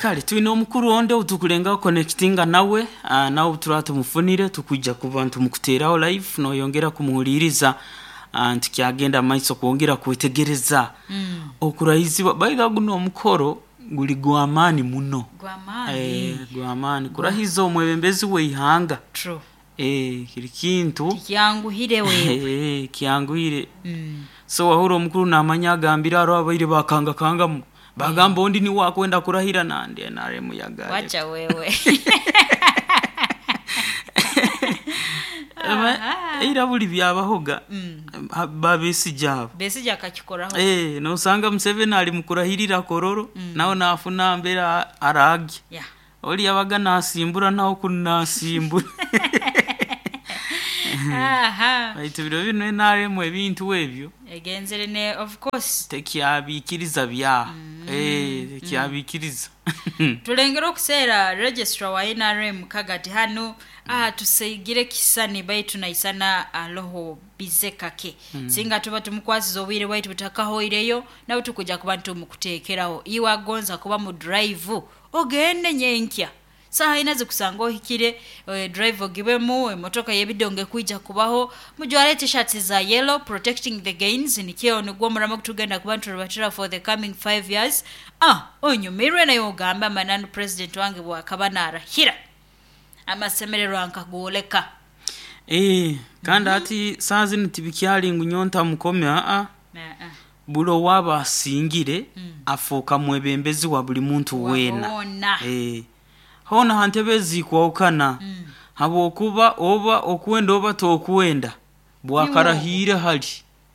Kale twine omukuru onde outukulengaho connectinga nawe, nawe obuturaba tumufunire tukwija kuba nitumukuteeraho live noyongera kumuhuliiriza, nitukyagenda mumaiso kwongera kwetegereza okurahizibwa. By the way guno omukoro guli gw'amaani muno. Gw'amaani. Gw'amaani kurahiza omwebembezi w'eihanga. True. Kiri kintu Tikyanguhire wewe. Kyanguhire. So wahurra omukuru naamanya agambire haroho abaire bakangakangamu bagamba ondi niwe akwenda kurahira nandi NRM yagale. Wacha wewe. Eira buli byabahoga ba Besigye abo. Besigye akakikoraho. Nosanga Museveni ali mukurahirira Kololo nawe naafuna mbere araagye. Oli yabaga naasimbura nawe kunu naasimbura. Baitu biro binu NRM ebintu ebyo Egenzere ne of course. Tekyabiikiriza bya. Tekyabiikiriza. Tulengera okuseera registrar wa NRM kagati hanu tusigire kisani baitu naisana aloho bize kake. Singa tuba tumukwasize obwire bwaitu butakahoireyo nabo tukuja kuba nitumukuteekeraho. Iwe agonza kuba mu drive ogende nyenkya. Saaha ina zikusanga ohikire, drive ogibemu, emotoka y'ebidongo ekwija kubaho, mujware t-shirts za yellow, protecting the gains, nikyo nigwo omuramo gutugenda kuba niturubatira for the coming 5 years. Onyumirwe naye ogambe amananu president wange bwakaba narahira. Amasemererwa nkagwoleka. Kandi hati saaha zinu tibikyali ngu nyowe ntamukome aa. Buli owaaba asingire afooka mwebembezi wa buli muntu weena. Weena. Hoona ha ntebe ezikwahukana habwokuba oba okwenda oba tokwenda bwakarahiire hali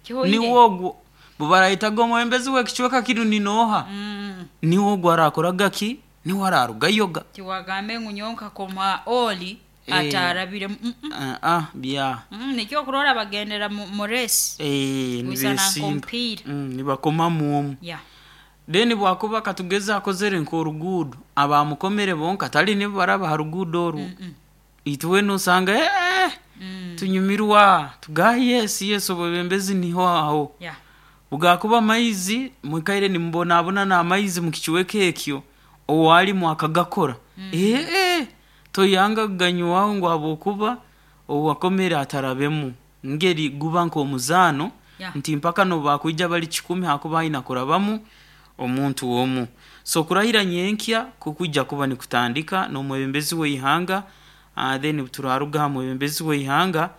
niwe ogwo bwebarayetaga omwebembezi w'ekicweka kinu ni nooha, niwe ogwo araakoraga ki, niwe araarugayoga. Tiwagambe ngu nyowe nkakoma oli atarabiremu. Bya. Nikyo okurora bagendera mu race. Wisana Nibeesimba. Nk'omupiira. Nibakomamu omu. Then bwakuba katugeze akozere nk'oruguudo, abaamukomere bonka tali nibo baraba ha ruguudo orwo. Itwe nosanga tunyumirwa tugaha yes yes obwebembezi niho aho. Bwakuba amaizi mwikaire nimubonabona n'amaizi mu kicweka ekyo owalimu akagakora. Toyanga kuganywaho ngu habwokuba owakomere atarabemu. Ngeri guba nk'omuzaano nti mpaka n'obu bakwija bali 1,000 hakuba aina kurabamu omuntu omu. So kurahira nyenkya kukwija kuba nikutandika n'omwebembezi w'eihanga, then turaruga ha mwebembezi w'eihanga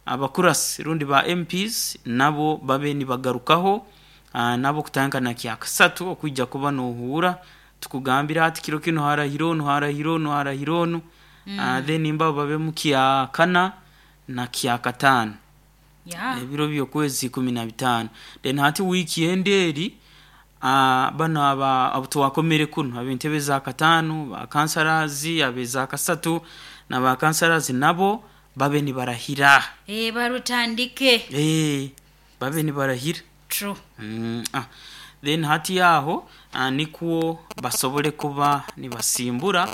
abakurasi rundi ba MPs nabo babe nibagarukaho, nabo kutandika na kyakasatu okwija kuba nohuura tukugambira ati kiro kinu harahira onu, harahira onu, harahira onu, then mbabo babe mu kyakana na kyakataano. Ebiro by'okwezi 15. Then hati wiiki endi eri, banu aba abu twakomere kunu ab'entebe za kataano, ba councillors, ab'eza kasatu na ba councillors nabo babe nibarahira. Barutandike. Babe nibarahira. True. Then hati aho nikwo basobole kuba nibasimbura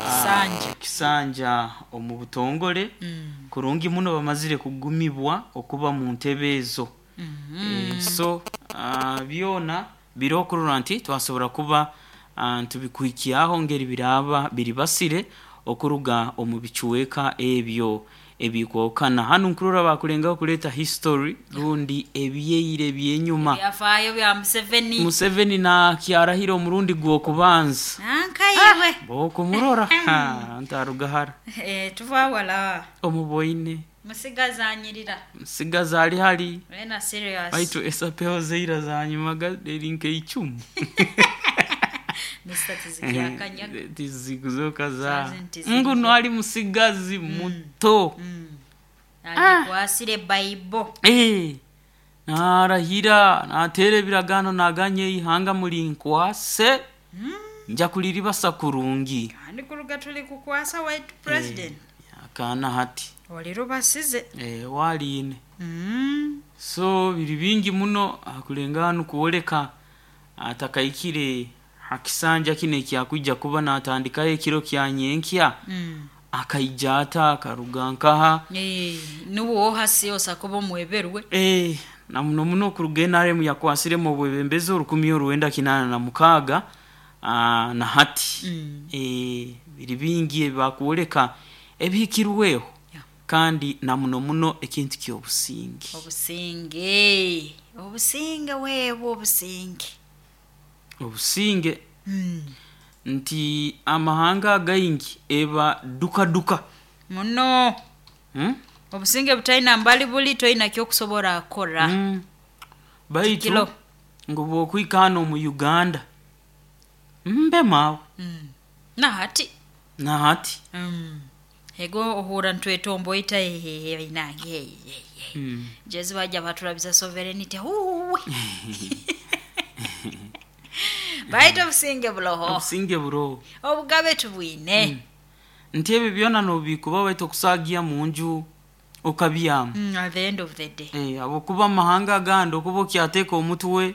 Kisanja. Kisanja omu butongole kurungi muno bamazire kugumibwa okuba mu ntebe ezo. So byona biri okurora nti twasobora kuba ntubikuhikyaho ngeri biraaba biribasire okuruga omu bicweka ebyo ebikwahukana. Hanu nkurora bakulengaho kuleeta history rundi ebyeire ebyenyuma. Ebyafaayo bya Museveni. Museveni nakyarahira omurundi gw'okubanza. Nankaiwe. Bookumurora ntaruga hara. Tuva wala. Omuboine. Musigazi anyirira. Musigazi ali hali. Wena serious. Baitu esapeho zeira zanyumaga eri nk'eicumu. Mr. Tizikyakanya. Tizikuzoka za. Zazi ntizirya. Nguno ali musigazi muto. Agikwasire Bible. Narahira nateera ebiragaano naganya eihanga murinkwase. Nja kuliribasa kurungi. Kandi kuruga tuli kukwasa white president. Akaana hati. Olirubasize. Waliine. So biri bingi muno akulenga hanu kwoleka atakaikire ha kisanja kinu ekyakwija kuba natandikaho ekiro kya nyenkya. Akaija ata akaruga nkaha. Nuwe hasi osakuba omweberwe. Na muno muno okuruga NRM yakwasiremu obwebembezi 1986. Na hati biri bingi ebibakwoleka ebihikirweho, kandi na muno muno ekintu ky'obusinge. Obusinge, obusinge weebwe, obusinge. Obusinge. Nti amahanga againgi eba duka duka. Muno. Obusinge butaina mbali buli, toina kyokusobora kukora. Baitu Kikilo. Ngu bwokwika hano omu Uganda, mbe maawe. Nahati. Nahati. Ego ohura ntwetomboita, hehehe, inange jezi bajja baturabiza sovereignty huwe, baitu obusinge buloho. Obusinge buroho. Obugabe tubwine. Nti ebyo byona nobikuba, baitu okusagiya munju okabyama. At the end of the day. Habwokuba amahanga agandi okuba okyateeka omutwe.